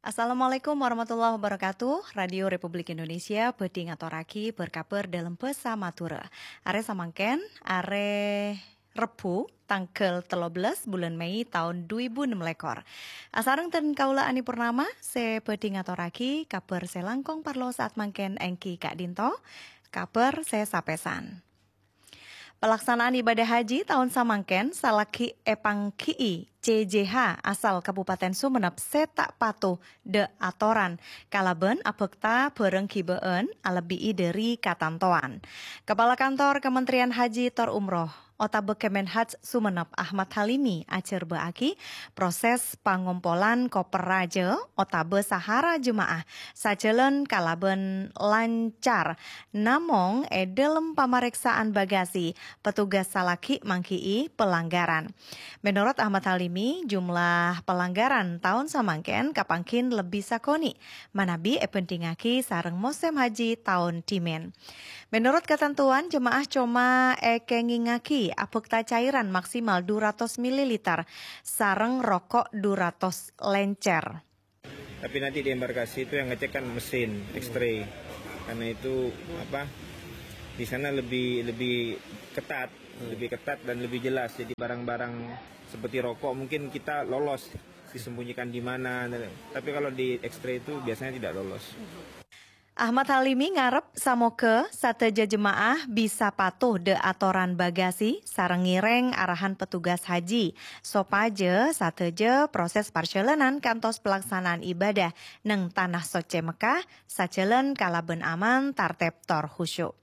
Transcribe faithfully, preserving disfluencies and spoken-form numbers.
Assalamualaikum warahmatullahi wabarakatuh. Radio Republik Indonesia bhâdhi ngatorraghi bâr-kabhâr dâlem bhâsa Madhurâ. Arè samangkèn, arè Rebbhu, tangghâl tello bellâs bulân Mei taon du èbu ennem lèkor. Asareng dân kaulâ Ani Purnama, sè bhâdhi ngatorraghi kabhâr sè langkong parlo saat mangkèn èngghi ka'dinto, kabhâr sè sapèsan. Palaksanaan ibadah haji taon samangkèn salaghi èpangghi'i C J H asal Kabupaten Sumenep sè ta' patuh dâ' atoran kalabân abhâkta bhârâng ghibâ'ân alebbi'i dhâri katantowan. Kapala Kantor Kementerian Haji tor Umroh otabâ Kemenhaj Sumenep Ahmad Halimi ajhârbâ'âghi proses pangompolan koper rajâ otabâ sahara jema'ah sajhâlân kalabân lancar. Namong è dâlem pamarèksaan bagasi, petugas salaghi mangghi'i pelanggaran. Menurut Ahmad Halimi, jumlah pelanggaran taon samangkèn kapangghin lebbi sakonè', manabi èbhândhingngaghi sareng mosèm haji taon dhimèn. Menurut katantowan, jema'ah coma èkèngèngngaghi abhâkta cairan maksimal du ratos mililiter sareng roko' du ratos lèncèr. Tapi nanti di embarkasi itu yang ngecek kan mesin X-ray. Karena itu apa? Di sana lebih lebih ketat, lebih ketat dan lebih jelas. Jadi barang-barang seperti rokok mungkin kita lolos disembunyikan di mana. Tapi kalau di X-ray itu biasanya tidak lolos. Ahmad Halimi ngarep samoghâ sadhâjâ jema'ah bisa patuh dâ' atoran bagasi sareng ngèrèng arahan petugas haji, sopajâ sadhâjâ proses parjhâlânan kantos pelaksanaan ibadah neng Tanah Soccè Mekkah sajhâlân kalabân aman, tartèb, tor khusyuk.